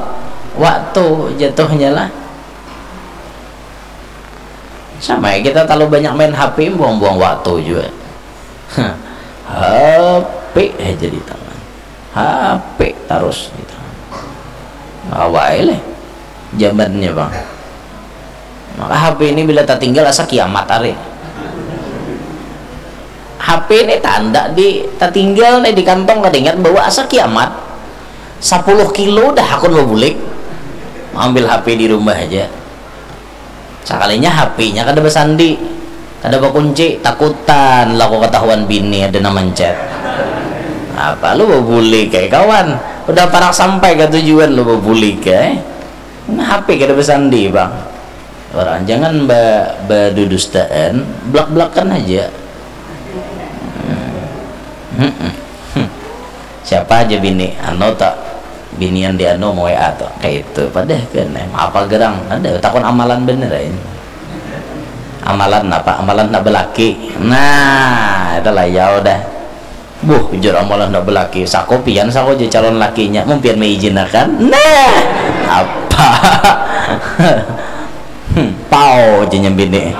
waktu jatuhnya lah. Sama ya, kita terlalu banyak main H P, buang-buang waktu juga. H P aja di tangan, H P tarus di tangan. Awai leh zamannya, Bang. Maka H P ini bila tatinggal asa kiamat ari. H P ini tanda di tatinggal nih di kantong, kada ingat bawa, asa kiamat. Sapuluh kilo dah hakun babulik. Ambil H P di rumah aja. Sakalinya H P-nya kada basandi, kada bakunci, takutan lah ku katahuan bini ada nang manchat. Apa lu babulik ai kawan? Udah parak sampai ka tujuan lu babulik ai. Nah, H P kada basandi, Bang. Orang jangan ba badudustaan, blak-blakan aja. Hmm. Hmm. Hmm. Siapa aja bini? Anu tak? Binian di anu mau W A tak? Kayak itu. Padahal kan, eh, apa gerang? Ada takon amalan bener aja. Amalan apa? Amalan nak belaki. Nah, itulah ya udah. Buh, ujar amalan nak belaki. Sako pian sako je calon lakinya. Mun pian mengizinakan. Nah, apa? Hmm, pau je nyambini.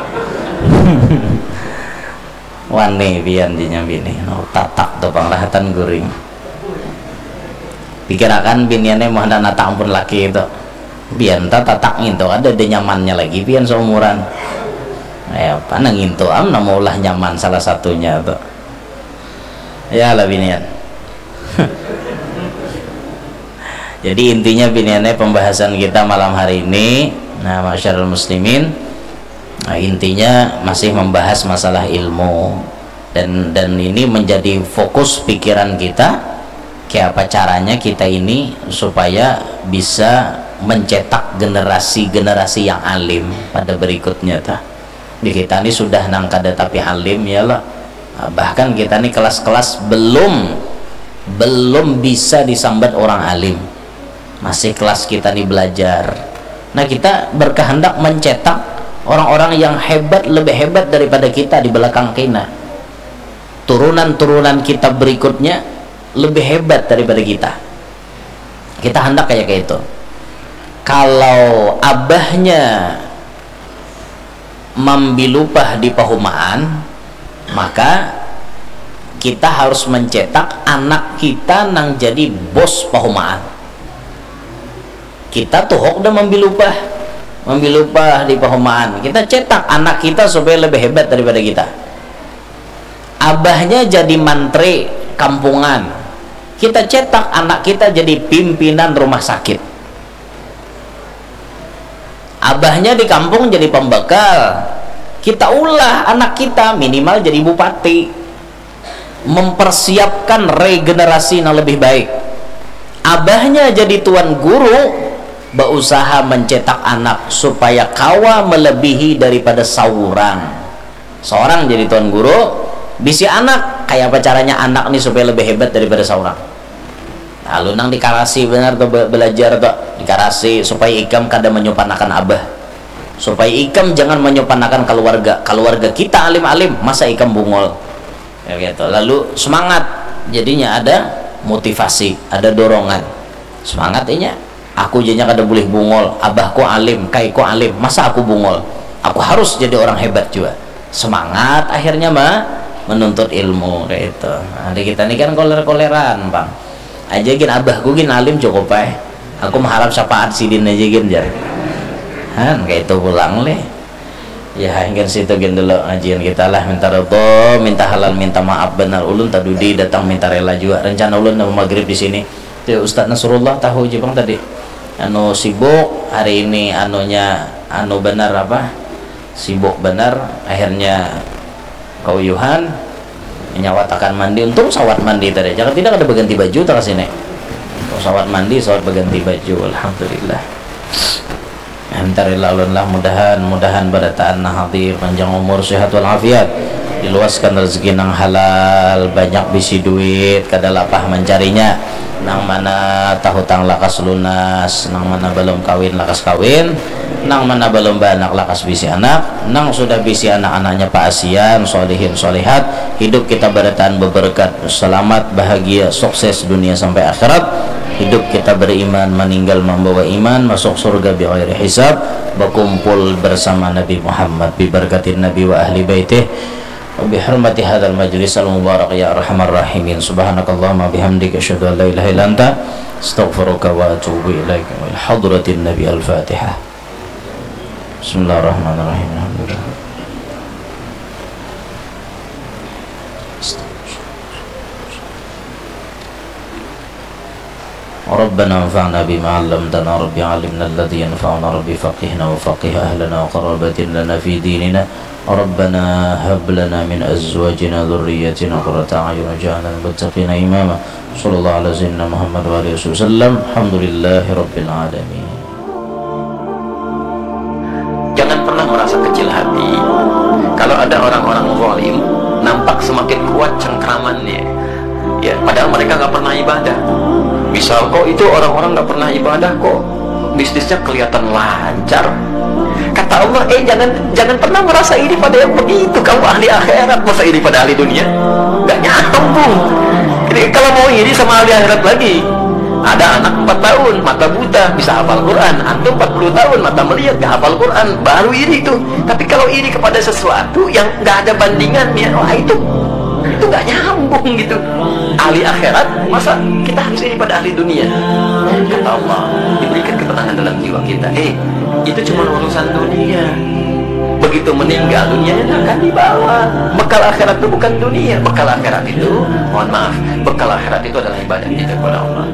Wani pian je nyambini. No, tatak tu pangrahatan guring. Pikirakan biniannya mau hendak natak ampun laki itu. Pian ta tatak ngintu ada ada nyamannya lagi pian seumuran. Ya, apa nang ngintu am nama ulah nyaman salah satunya tu. Ya lah binian. Jadi intinya biniannya pembahasan kita malam hari ini, nah, masyarul muslimin, nah, intinya masih membahas masalah ilmu dan dan ini menjadi fokus pikiran kita, kayak apa caranya kita ini supaya bisa mencetak generasi-generasi yang alim pada berikutnya ta. Di kita ni sudah nang kada tapi alim ya lah. Bahkan kita ni kelas-kelas belum belum bisa disambat orang alim. Masih kelas kita ni belajar. Nah, kita berkehendak mencetak orang-orang yang hebat, lebih hebat daripada kita di belakang kita. Turunan-turunan kita berikutnya lebih hebat daripada kita. Kita hendak kayak kayak itu. Kalau abahnya mambilupah di pahumaan, maka kita harus mencetak anak kita nang jadi bos pahumaan. Kita tuhok dah mambilupah, mambilupah di pahumaan. Kita cetak anak kita supaya lebih hebat daripada kita. Abahnya jadi mantri kampungan. Kita cetak anak kita jadi pimpinan rumah sakit. Abahnya di kampung jadi pembekal. Kita ulah anak kita minimal jadi bupati. Mempersiapkan regenerasi yang lebih baik. Abahnya jadi tuan guru, berusaha mencetak anak supaya kawa melebihi daripada seorang. Seorang jadi tuan guru, bisi anak, kayak apa caranya anak nih supaya lebih hebat daripada seorang. Lalu nang dikarasi benar tuh be- belajar tuh, dikarasi supaya ikam kada menyupanakan abah, supaya ikam jangan menyupanakan keluarga. Keluarga kita alim-alim, masa ikam bungol? Ya gitu. Lalu semangat, jadinya ada motivasi, ada dorongan. Semangat inya. Aku janya kada boleh bungol, abahku alim, kaiku alim, masa aku bungol? Aku harus jadi orang hebat juga. Semangat akhirnya mah menuntut ilmu kayak itu. Nah, di kita ini kan koler-koleran, Bang. Aja gin abahku gin alim cukup ai. Aku mengharap syafaat sidin aja gin jar. Han kayak itu pulang leh. Ya, hingga situ gin dulu ngajian kita lah, minta ridho, minta halal, minta maaf benar. Ulun tadudi datang minta rela juga. Rencana ulun nama maghrib di sini. Itu Ustaz Nasrullah tahu je bang tadi. Anu sibuk hari ini anunya anu benar apa? Sibuk benar akhirnya kauyuhan menyawatakan mandi. Untung sawat mandi tadi. Jangan tidak ada berganti baju tak sini. Untung sawat mandi, sawat berganti baju. Alhamdulillah. Antari lalun lah mudahan mudahan barataan nah hadir panjang umur sehat walafiat diluaskan rezeki nang halal banyak bisi duit kada lapah mencarinya nang mana tahutang lakas lunas nang mana belum kawin lakas kawin nang mana belum beranak lakas bisi anak nang sudah bisi anak-anaknya paasian solihin solihat hidup kita barataan beberkat selamat bahagia sukses dunia sampai akhirat hidup kita beriman meninggal membawa iman masuk surga bi ghairi hisab bakumpul bersama Nabi Muhammad bibarakatin Nabi wa ahli baitih وبحرمة هذا المجلس المبارك يا أرحم الراحمين. سبحانك اللهم وبحمدك، أشهد أن لا إله إلا أنت، أستغفرك وأتوب إليك. وإلى حضرة النبي الفاتحة. بسم الله الرحمن الرحيم. الحمد لله. ربنا انفعنا بما علمتنا، رب علمنا الذي ينفعنا، رب فقهنا وفقه أهلنا وقرابة لنا في ديننا. ربنا هب لنا من أزواجنا وذرياتنا قرة أعين واجعلنا للمتقين إماما. صلى الله على سيدنا محمد وعلى آله وصحبه وسلم. الحمد لله رب العالمين. Jangan pernah merasa kecil hati. Kalau ada orang-orang zalim, nampak semakin kuat cengkramannya. Ya, padahal mereka nggak pernah ibadah. Misal, kok itu orang-orang nggak pernah ibadah, kok bisnisnya kelihatan lancar. Kata Allah, eh, jangan, jangan pernah merasa iri pada yang begitu. Kamu ahli akhirat, masa iri pada ahli dunia? Nggak nyambung. Jadi, kalau mau iri sama ahli akhirat lagi, ada anak empat tahun, mata buta, bisa hafal Quran. Antum empat puluh tahun, mata melihat, nggak hafal Quran, baru iri itu. Tapi kalau iri kepada sesuatu yang nggak ada bandingannya, wah, itu, itu nggak nyambung gitu. Ahli akhirat, masa kita harus iri pada ahli dunia? Kata Allah, diberikan ketenangan dalam jiwa kita. Eh, itu cuma urusan dunia. Begitu meninggal, dunianya nggak akan dibawa. Bekal akhirat itu bukan dunia. Bekal akhirat itu, mohon maaf, bekal akhirat itu adalah ibadah kita kepada Allah.